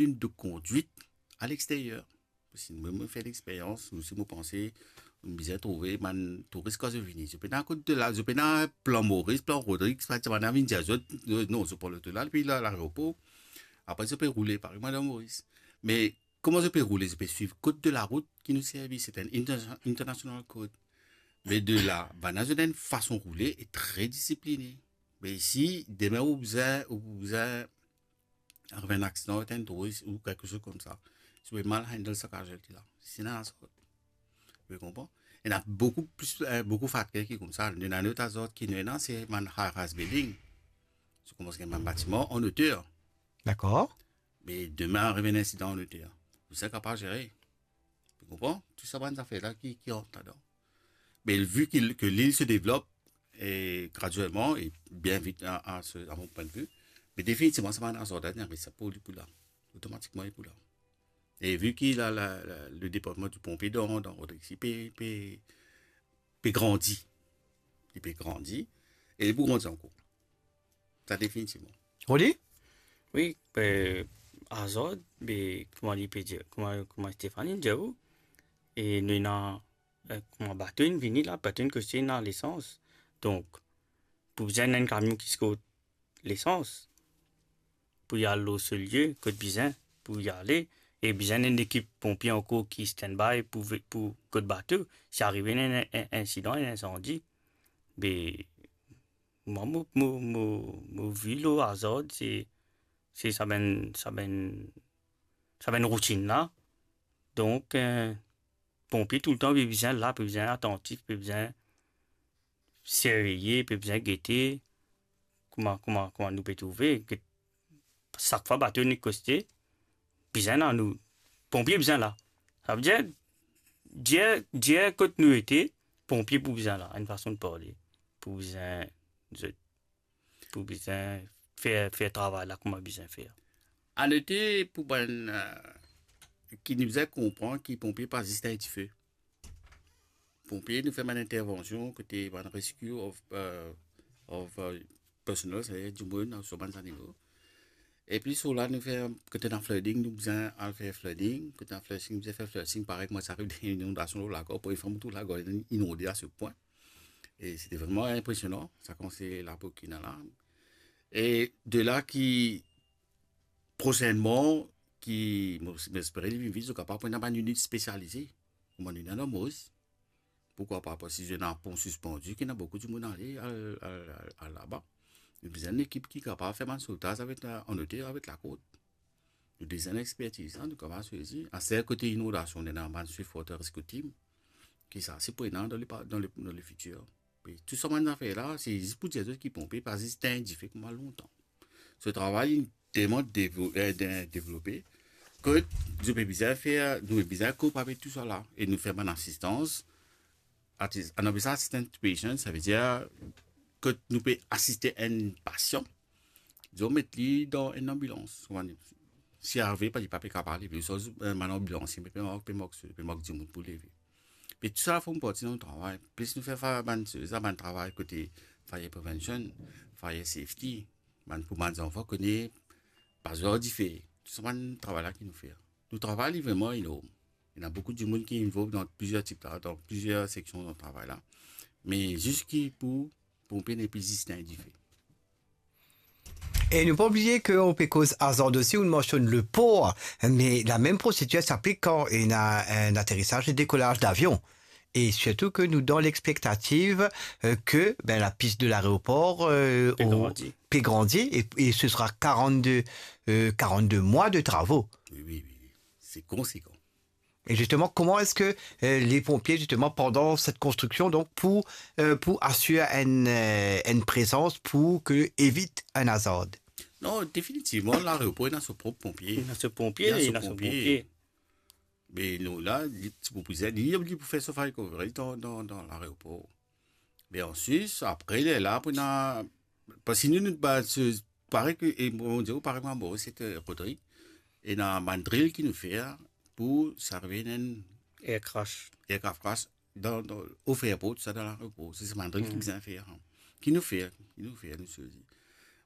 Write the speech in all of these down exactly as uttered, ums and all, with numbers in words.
une de conduite à l'extérieur. Si mwa, mo fer lexperyans, osi mo panse, mo bizin trouve bann touris kan zot vini. Zot pena kot de la, zot pena plan Moris, plan Rodrig, sa, ti bann la vinn dir zot, non, zot pran loto la, depi la, laeropor. Apre, zot pe roule, parey mwa dan Moris. Me kouma zot pe roule, zot pe swiv kod de larout ki nou servi, se enn inter-, international code. Me de la, bann la zot ena enn fason roule e tre disipline. Me si demin ou bizin, ou bizin ariv enn aksidan, enn touris ou quelque chose comme ça, si ou pe mal handle sa casualty la, si ena azot. Ou konpran? Ena boukou plis, eh, boukou fakter ki koumsa. Nou ena lot azot ki nou ena, se bann high-rise building. Si ou koumans gagn bann batiman an oter. Dakor. Me demin ariv enn insidan an oter, ou sa kapav zere. Ou konpran? Tou sa bann zafer la ki, ki rant ladan. Me vi ki, ke lil se devlop, e graduelman e bien vit a, a se, a mo pwin de vi, me definitivman sa bann azot la, me sa pou li pou la. Otomatikman li pou la. E vi ki la, la, la, le departman di ponpie dan, dan Rodrig isi pe, pe, pe grandi. Li pe grandi, e li pou grandi ankor. Sa definitivman. Rodi? Wi, eh, azot, be, kouma li pe dir, kouma, kouma Stéphanie dir ou, e nou ena, eh, kouma bato inn vini la, bato inn koste ena lesans. Donk, pou bizin enn kamion ki sort lesans, pou li al lor so lie, kot bizin, pou li ale, e bizin enn ekip ponpie ankor ki standby pou ve-, pou kot bato, si arive enn, enn, enn insidan, enn insandi, be, mwa, mo, mo, mo, mo vi lor azot, se, se sa bann, sa bann, sa bann routinn la. Donk, eh, ponpie toultan pe bizin la, pe bizin atantif, pe bizin sirveye, pe bizin gete kouma, kouma, kouma nou pe trouve. Get-, sak fwa bato inn koste, bizin la nou, ponpie bizin la. Savedir, dir, dir kot nou ete, ponpie pou bizin la, enn fason de parle, pou bizin, zot, pou bizin fer, fer travay la kouma bizin fer. Anote pou bann, eh, ki nou bizin konpran ki ponpie pa zis enn dife. Ponpie, nou fer bann intervansion kote bann rescue of, eh, of, eh, personnel, savedir dimoun, swa bann zanimo. Epi, so la, nou fer, kote ena flooding, nou bizin al fer flooding. Kote ena flushing, nou bizin fer flushing. Parey mwa, ti ariv enn inondasion lor Lagor, pou enn fwa mo trouv Lagor inonde a se pwin. E se te vreman inpresionan, sa koumans lapok ki ena la. E de la ki, prosennman, ki, mo, mo espere li vinn vit, zot kapav pran bann init spesialize. Kouma nou ena dan Moris. Poukwa pa? Parski si ena pon sispandi, ki ena boukou dimoun ale, al, al, al, al laba. Nou bizin enn ekip ki kapav fer bann sovtaz avek la, an oter avek lakord. Nou deza ena expertiz la, nou kapav swezi. Aster kote inondasion, nou ena bann swift water rescue team, ki sa, se pou ena dan le pa-, dan le, dan le fitir. Pe tou sa bann zafer la, se zis pou dir zot ki ponpie pa zis enn dife kouma lontan. So travay inn telman devo-, eh, de-, devlope, ke nou pe bizin fer, nou pe bizin koup avek tou sa la, e nou fer bann asistans, atis-, nou apel sa assistant to patient, savedir ke nou pe asiste enn pasian, dizon, met li dan enn anbilans. Kouma dir, si arive, pa, li pa pe kapav leve, so, eh, bann anbilans, pe, pe mank, pe mank, pe mank dimoun pou leve. Pe tou sa form parti dan nou travay. Plis nou fer fa-, bann, sa bann travay kote fire prevention, fire safety, bann pou bann zanfan kone pa zwer dife. Tou sa bann travay la ki nou fer. Nou travay li vreman enorm. Ena boukou dimoun ki involve dan plizier tip la, dan plizier seksion dan travay la. Me zis ki pou, pou ponpie nepli zis enn dife. E nou pa bliye ke ou pe koz azot osi, ou mansionn le por, me lamem prosedir s'aplik kan ena enn aterisaz e dekolaz davion. E sirtou ke nou dan lexpektativ, eh, ke, ben, lapis de laeropor, eh, pe grandi, e, e se sera quarante-deux, eh, quarante-deux mwa de travo. Wi, wi, wi, wi. Se konsekan. E zisteman, kouma eski, eh, le ponpie, zisteman, pandan set konstriksion, donk, pou, eh, pou asir enn, eh, enn prezans pou ke evit enn azar? Non, definitivman, laeropor ena so prop ponpie. Ena so ponpie, ena so ponpie. Me nou la, li ti pou bizin, li, li pou fer so fire coverage dan, dan, dan laeropor. Me answit, apre, lerla pou ena, parski nou, nou, ba, se, parey ke, e mo dir, parey mo dir, se, eh, Rodrig, ena bann drill ki nou fer pou servi enn air crash, aircraft crash dan, dan, off airport, sa dan laeropor. Se, se bann drill ki bizin fer, en. Ki nou fer, ki nou fer, nou swezi.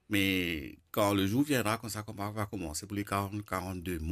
Mais quand le jour viendra, quand ça va commencer pour les quarante, quarante-deux mois,